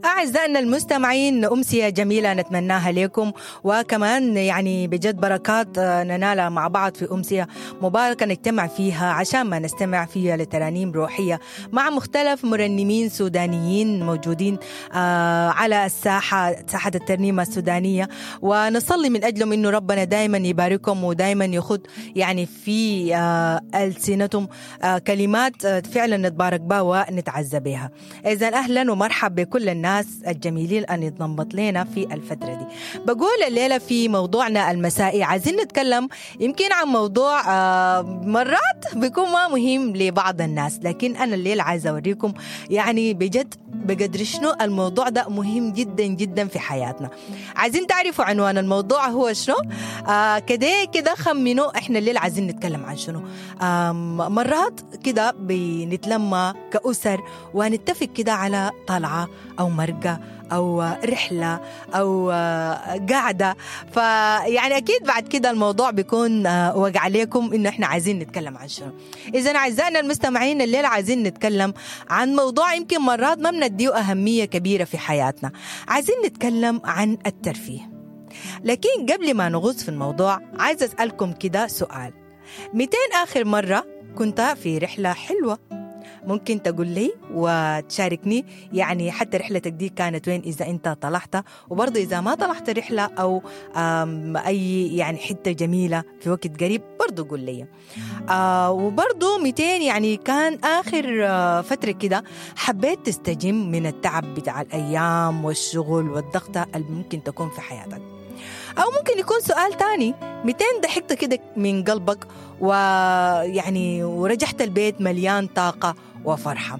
أعزائنا المستمعين، أمسية جميلة نتمناها لكم، وكمان يعني بجد بركات ننالها مع بعض في أمسية مباركة نجتمع فيها عشان ما نستمع فيها لترانيم روحية مع مختلف مرنمين سودانيين موجودين على الساحة، ساحة الترنيمة السودانية، ونصلي من أجلهم إنه ربنا دايما يباركهم ودايما يخد يعني في ألسنتهم كلمات فعلا نتبارك بها ونتعزى بها. إذا أهلا ومرحبا بكل الناس الجميلين أن يتنبط لنا في الفترة دي. بقول الليلة في موضوعنا المسائي عايزين نتكلم يمكن عن موضوع مرات بيكون ما مهم لبعض الناس، لكن أنا الليلة عايزة أوريكم يعني بجد بقدر شنو الموضوع ده مهم جدا جدا في حياتنا. عايزين تعرفوا عنوان الموضوع هو شنو؟ كده كده خمنوا احنا الليلة عايزين نتكلم عن شنو. مرات كده بنتلمى كأسر ونتفق كده على طلعة أو مرقة أو رحلة أو قعدة، فيعني أكيد بعد كده الموضوع بيكون وقع عليكم إنه إحنا عايزين نتكلم عن شنو. إذا أعزائنا المستمعين الليلة عايزين نتكلم عن موضوع يمكن مرات ما بنديه أهمية كبيرة في حياتنا، عايزين نتكلم عن الترفيه. لكن قبل ما نغوص في الموضوع عايز أسألكم كده سؤال: 200 آخر مرة كنت في رحلة حلوة؟ ممكن تقول لي وتشاركني يعني حتى رحلتك دي كانت وين إذا أنت طلعت، وبرضه إذا ما طلعت رحلة أو أي يعني حتة جميلة في وقت قريب برضه قول لي. وبرضه 200 يعني كان آخر فترة كده حبيت تستجم من التعب بتاع الأيام والشغل والضغطة اللي ممكن تكون في حياتك. أو ممكن يكون سؤال تاني: 200 ضحكت كده من قلبك ويعني ورجعت البيت مليان طاقة وفرحة؟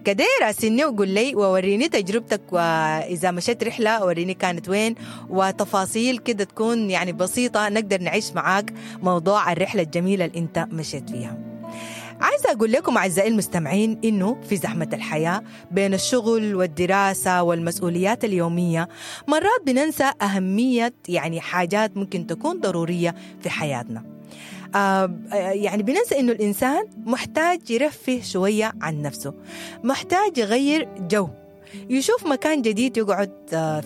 كده راسلني وقول لي ووريني تجربتك، وإذا مشيت رحلة وريني كانت وين، وتفاصيل كده تكون يعني بسيطة نقدر نعيش معاك موضوع الرحلة الجميلة اللي انت مشيت فيها. عايزة أقول لكم أعزائي المستمعين إنه في زحمة الحياة بين الشغل والدراسة والمسؤوليات اليومية مرات بننسى أهمية يعني حاجات ممكن تكون ضرورية في حياتنا. يعني بننسى إنه الإنسان محتاج يرفه شوية عن نفسه، محتاج يغير جو، يشوف مكان جديد يقعد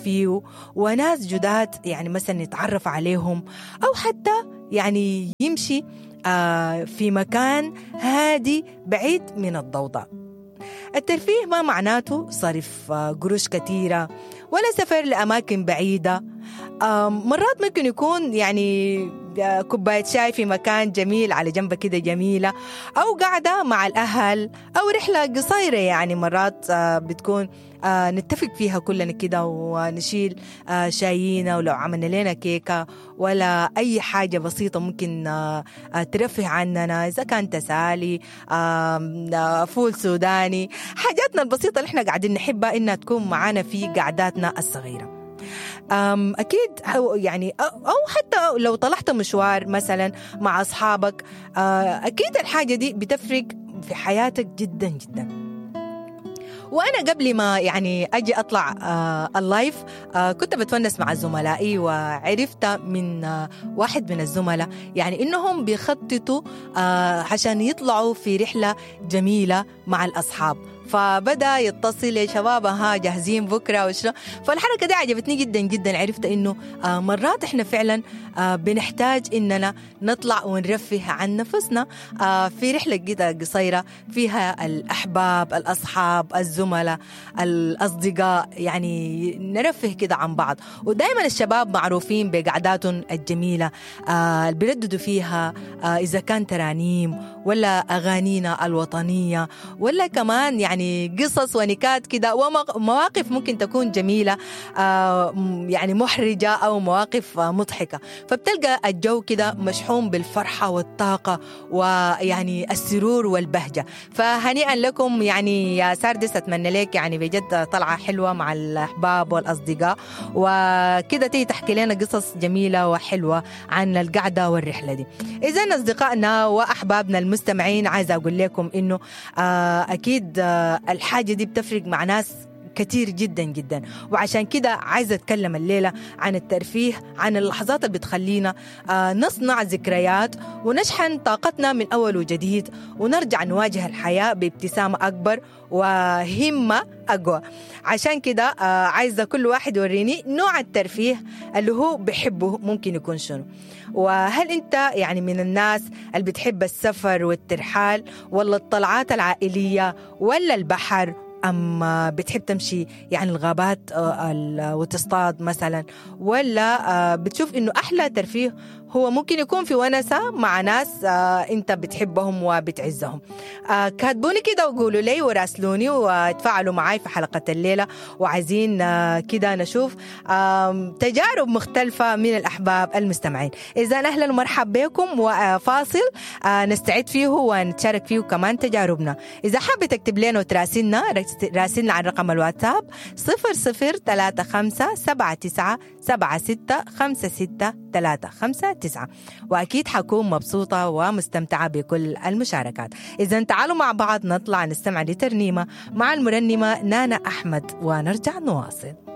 فيه وناس جداد يعني مثلا يتعرف عليهم، أو حتى يعني يمشي في مكان هادي بعيد من الضوضاء. الترفيه ما معناته صرف قروش كثيرة ولا سفر لأماكن بعيدة. مرات ممكن يكون يعني كوباية شاي في مكان جميل على جنب كده جميلة، أو قعدة مع الأهل، أو رحلة قصيرة يعني مرات بتكون نتفق فيها كلنا كده ونشيل شايينا، ولو عملنا لنا كيكة ولا أي حاجة بسيطة ممكن ترفه عننا، إذا كان تسالي، فول سوداني، حاجاتنا البسيطة اللي احنا قاعدين نحبها إنها تكون معانا في قعداتنا الصغيرة. أكيد يعني أو حتى لو طلعت مشوار مثلا مع أصحابك، أكيد الحاجة دي بتفرق في حياتك جدا جدا. وأنا قبل ما يعني أجي أطلع ال live كنت بتونس مع زملائي، وعرفت من واحد من الزملاء يعني إنهم بيخططوا عشان يطلعوا في رحلة جميلة مع الأصحاب، فبدأ يتصل يا شباب ها جاهزين بكرة وشنو. فالحركة دي عجبتني جدا جدا. عرفت إنه مرات إحنا فعلا بنحتاج إننا نطلع ونرفه عن نفسنا في رحلة كده قصيرة فيها الأحباب، الأصحاب، الزملاء، الأصدقاء، يعني نرفه كده عن بعض. ودائما الشباب معروفين بقعداتهم الجميلة اللي بيرددوا فيها إذا كان ترانيم ولا أغانينا الوطنية، ولا كمان يعني قصص ونكات كده ومواقف ممكن تكون جميلة يعني محرجة أو مواقف مضحكة. فبتلقى الجو كده مشحون بالفرحة والطاقة ويعني السرور والبهجة. فهنيئا لكم يعني يا ساردس، أتمنى لك يعني بجد طلعة حلوة مع الأحباب والأصدقاء، وكده تيجي تحكي لنا قصص جميلة وحلوة عن القعدة والرحلة دي. إذن أصدقائنا وأحبابنا المستمعين، عايزة أقول لكم إنه أكيد الحاجة دي بتفرق مع ناس كتير جدا جدا. وعشان كده عايزة أتكلم الليلة عن الترفيه، عن اللحظات اللي بتخلينا نصنع ذكريات ونشحن طاقتنا من أول وجديد، ونرجع نواجه الحياة بابتسامة أكبر وهمة أقوى. عشان كده عايزة كل واحد يوريني نوع الترفيه اللي هو بحبه ممكن يكون شنو، وهل أنت يعني من الناس اللي بتحب السفر والترحال، ولا الطلعات العائلية، ولا البحر، أم بتحب تمشي يعني الغابات وتصطاد مثلا، ولا بتشوف إنه أحلى ترفيه هو ممكن يكون في ونسة مع ناس أنت بتحبهم وبتعزهم. كاتبوني كده وقولوا لي وراسلوني وتفاعلوا معاي في حلقة الليلة، وعايزين كده نشوف تجارب مختلفة من الأحباب المستمعين. إذا أهلا ومرحبا بكم، وفاصل نستعد فيه ونتشارك فيه كمان تجاربنا. إذا حابة تكتب لنا وتراسلنا، راسلنا على رقم الواتساب 0035 79 76 56 359، وأكيد حكون مبسوطة ومستمتعة بكل المشاركات. إذا تعالوا مع بعض نطلع نستمع لترنيمة مع المرنمة نانا أحمد ونرجع نواصل.